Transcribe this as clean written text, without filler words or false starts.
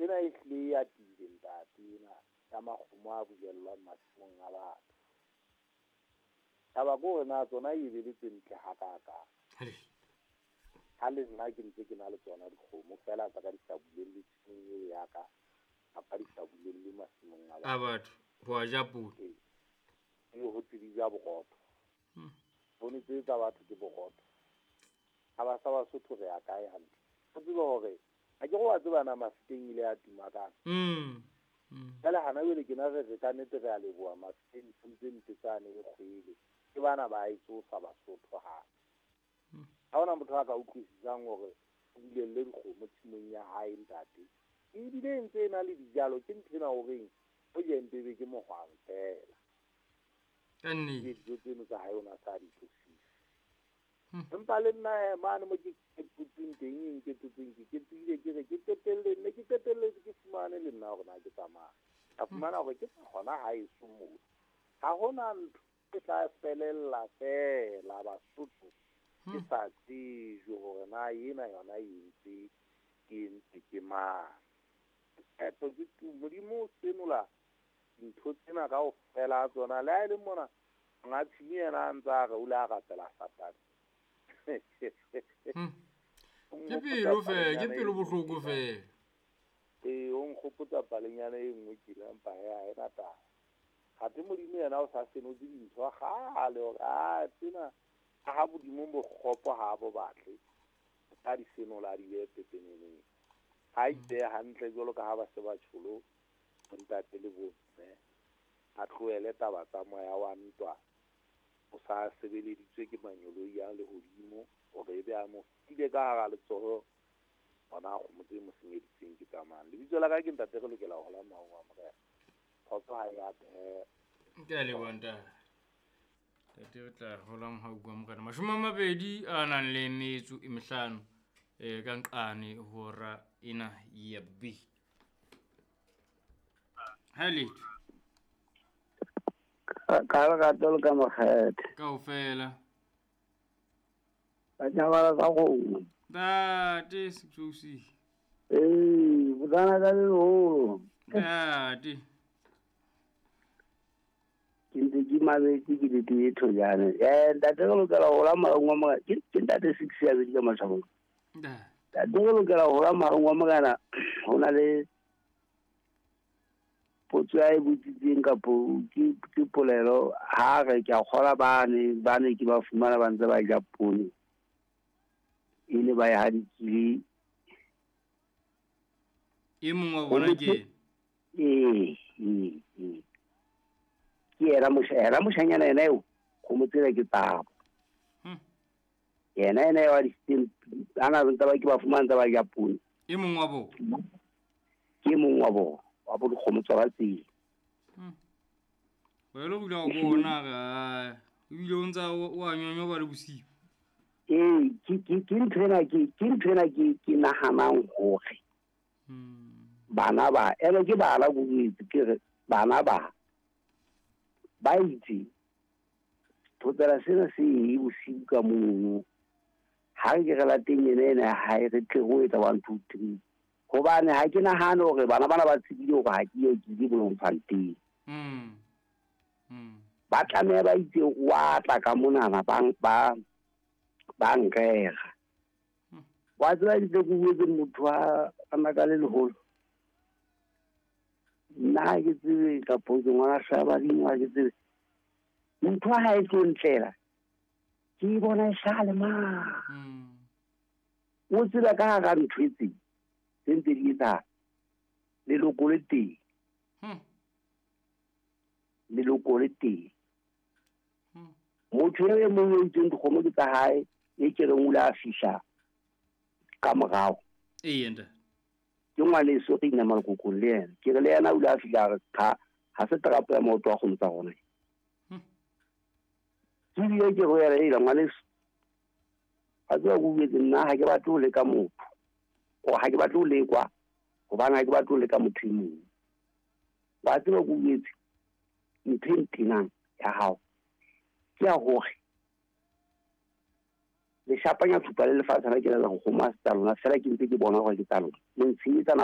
Ena e hlile e atile ntate ena ya makgomo a bulellwang masimong a batho. Taba ke hore na tsona e be le tse ntle hakakang. Ha le nna ke ntse ke na le tsona dikgomo feela tsa ka di sa bulelle tshimong eo ya ka, kapa di sa bulelle masimong a A batho ho a ja poone. Ee. Ebe ho tse di ja borotho. Poone tse tsa batho ke borotho. Ha ba sa Basotho re ya kae hantle. O tsebe hore ha ke re wa tseba na Mafikeng ile ya tuma kang. Jwale hana jwale ke na re re ka nnete re a leboha Mafikeng nthong tse mpe tsane e kgwele. Ke bana ba e tsosa Basotho hape. Ha hona motho a ka utlwisisang hore o bulelle dikgomo tshimong ya hae ntate. Ebile e ntse e na le dijalo ke ntho ena horeng o je mpe be ke mohwang fela. Ka nnete. Dijo tseno tsa hae o na sa di tlosise. Empa le nna mane mo ke ketotseng teng, e nketotseng ke ketsohile ke re ke qetelle ne ke qetelletse ke fumane le nna hore na ke tsamaya. Ka fumana hore ke hona haeso moo. Ha hona ntho e tla felella feela Basotho ke sa tsejwe hore na ena yona e entse ke entse ke mang. Qeto ke tu Modimo o senola dintho tsena kaofela ha tsona. Le ha e le mona monga tshimo yena a ntse a re o ile a rapela Satane. Ke pelo fela, ke pelo bohloko fela. Ee, o nkgopotsa palenyana e nngwe tjena empa hee ha ena taba. Athe Modimo yena o sa senotse dintho kgale hore a tsena ha Modimo bokgopo ha bo batle. A di senola a di behe pepeneneng. Ha ipehe hantle jwalo ka ha ba se ba tjholo bontate le bomme. A tlohele taba tsa moya wa ntwa. O sa sebeleditswe ke manyoloi a lehodimo hore ebe a mo file ka hara letsoho hona kgomo tse mo senyeditseng ke tsamang. Lebitso la ka ke ntate re lokela ho hola mohau wa Morena. Kgotso ha e atehe. Ke a leboha ntate. Ntate re tla hola mohau wa Morena. 20 a nang le metso e mehlano ka nqane hora ena ya B. Ha letho. Ka lerato le ka makgethe. Kaofela. Ba tjhabala tsa kgomo. Ntate Sexosi. Ee, botsana ka leholo. Ntate. Ke ntse ke mametse ke le tee thojane. Ntate re lokela ho hola mohau wa Morena. Ke ntate Six ya bedi ka matjhabong. Ntate re lokela ho hola mohau wa Morena. Ho na le potso ya e botsitseng kapo ke polelo ha re ke a kgola bane ke ba fumana ba ntse ba ja poone. E le ba e hadikile. E mong wa bona ke? Ee. Ke yena yena moshanyana yena eo, kgomo tsena ke tsabo. Yena eo a di siteng, a na ntse ba ke ba fumana ntse ba ja poone. E mong wa bona? Ke mong wa bona. Wa bo dikgomo tsa tsela. Wa lo bula go bona ga ebile o ntsa o a nyonyoba le bosiu. Ee, ke ntho ena ke ntho ena ke nahanang hore bana ba ene ke bana go itse ke re bana ba ba itse thotsela sena se e bosiu ka mono. Ha ke re lateng ena ena ha e re tle go etsa 1 2 3. Hobane ha ke nahane hore bana bana ba tsebile hore ha ke ye ke ile Bloemfontein. Ba tlameha ba itse wa tla ka monana ba nrera. Wa tseba ditse ke buetse motho a naka le leholo. Nna ha ke tsebe kapo ke ngwana hlaba dimo ha ke tsebe. Ntho ha e tlo ntlela. Ke bona e sale ma. O tseba ka hara ntho e tse. Tse ntse di etsahala. Leloko le teng. Leloko le teng. Motho e mong o itseng dikgomo ke tsa hae, e ke reng o ile a fihla ka morao. Ee, ntate. Ke ngwaneso re inama lekokong le yena. Ke re le yena o ile a fihla a re cha, ha se terapo ya maoto a kgomo tsa rona. Ke bile ke re ho yena, hela ngwaneso, a tseba ke o buetse nna ha ke batle ho leka motho. O ha ke batle ho lekwa, hobane ha ke batle ho leka motho e mong. Wa tseba ke o buetse ntho e ntenang ya hao. Ke ya hore le shapanya thupa le lefatshe la ke la go kgoma tsa lona fela ke ntse ke bona hore ke tsa lona. Le ntshenyetsa nako.